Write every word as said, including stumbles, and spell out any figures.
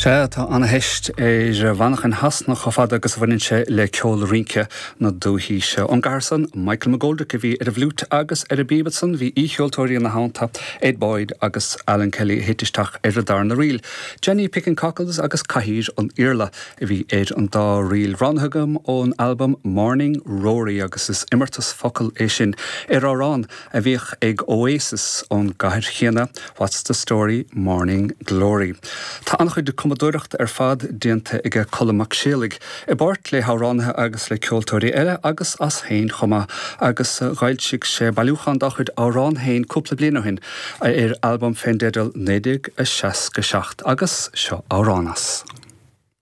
Sea tá an-theist ar mhanchain Shasana chomh fada agus a bhaineann sé le ceol rince na dúthaí. Ón gcathair san Michael McGoldrick a bhí ar an bhfliúit agus ar an bpíb ansan bhí aoicheoltóirí ina theannta Ed Boyd agus Alan Kelly thit isteach ar an darna ríl. Jenny Picking Cockles agus Cathaoir an Iarla a bhí ar an dá ríl roghnaithe agam ón album Morning Rory agus is imeartas focal é sin ar amhrán a bhíodh ag Oasis ón gcathair chéanna What's the Story Morning Glory. Tá an-chuid cumadóireachta ar fad déanta ag Colm Mac Séalaigh i bpáirt le hamhránaithe agus le ceoltóirí eile agus as féin chomh maith agus d'fhoilsigh sé bailiúchán dá chuid amhrán féin cúpla bliain ó shin ar albam fén dteideal naoi déag a seasca seacht agus seo amhrán as.